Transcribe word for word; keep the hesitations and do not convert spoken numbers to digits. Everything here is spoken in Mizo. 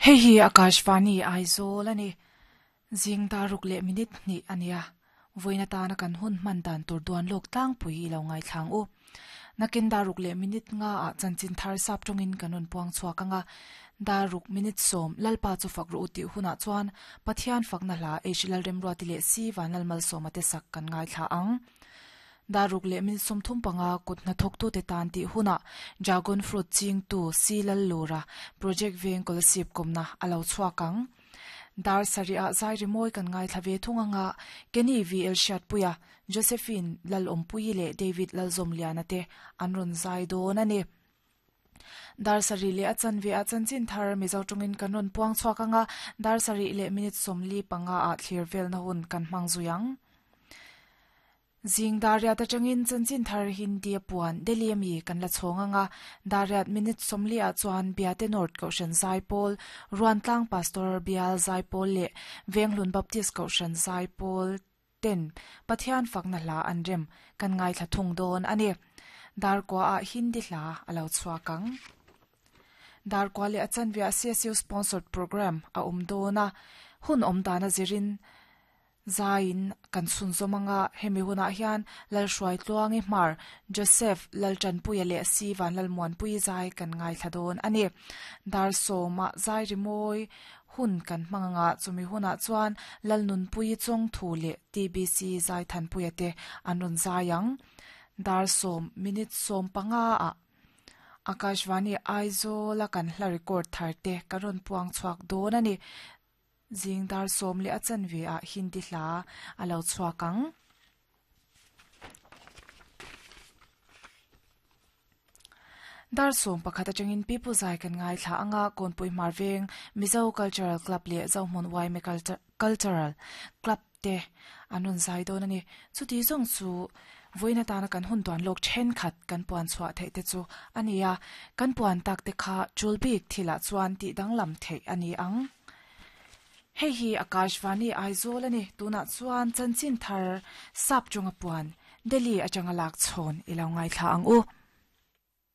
Hei hi Akashvani Aizawl ani. Zing daruk leh minute hnih ania. Vawiin atana kan hun hman dan tur duan lawk tlangpui i lo ngaithlang u. Nakin daruk leh minute nga ah chanchin thar sap tawngin kan rawn puang chhuak anga. Daruk minute sawm Lalpa chu fak rawh u tih hunah chuan Pathian fakna hla H Lalremruati leh C Vanlalmalsawma te sak kan ngaithla ang. Daruk leh minute sawmthum panga kut hnathawktute tan tih hunah Dragon Fruit chingtu C Lallura Project Veng Kolasib kawmna a lo chhuak ang. Dar sarih ah zai rimawi kan ngaithla ve thung anga Kenny V L Hriatpuia, Josephine Lalawmpuii leh David Lalzawmliana te an rawn zai dawn a ni. Dar sarih leh a chanve ah chanchin thar Mizo tawngin kan rawn puang chhuak anga dar sarih leh minute sawmli panga ah thlir velna hun kan hmang zui ang. Zing Dariat atangin chanchin thar Hindi a puan Delhi ami kan la chhawng anga Dariat minute sawmli ah chuan Biate North Kohhran Zaipawl, Ruantlang Pastor Bial Zaipawl leh Venghlun Baptist Kohhran Zaipawl ten Pathian fakna hla an rem kan ngaithla thung dawn a ni. Darkua ah Hindi hla a lo chhuak ang. Darkua leh a chanve ah C S U sponsored program a awm dawn a, hun awm dan a zirin Zaiin kan chhunzawm anga hemi hunah hian Lalhruai Tluangi Hmar, Joseph Laltanpuia leh Si Vanlalmuanpui zai kan ngaithla dawn a ni. Dar sawmah zai rimawi hun kan hmang anga chumi hunah chuan Lalnunpui Chawngthu leh T B C Zaithanpuia te an rawn zai ang. Dar sawm minute sawm panga ah Akashvani Aizawl a kan hla record thar te kan rawn puang chhuak dawn a ni. Zing dar sawm leh a chanve ah Hindi hla a lo chhuak ang. Dar sawm pakhat atangin Pipu Zai kan ngaithla anga Kawnpui Hmar Veng Mizo Cultural Club leh Zohmun Y M A Cultural Club te an rawn zai dawn a ni. Chuti zawng chu vawiin atana kan hun duan lawk thenkhat kan puan chhuah theih te chu a ni a. Kan puan tak te kha chul bik thilah chuan tih danglam theih a ni ang. Hei hi Akashvani Aizawl a ni. Tunah chuan chanchin thar sap chunga puan Delhi atanga lak chhawn i lo ngaithla ang u.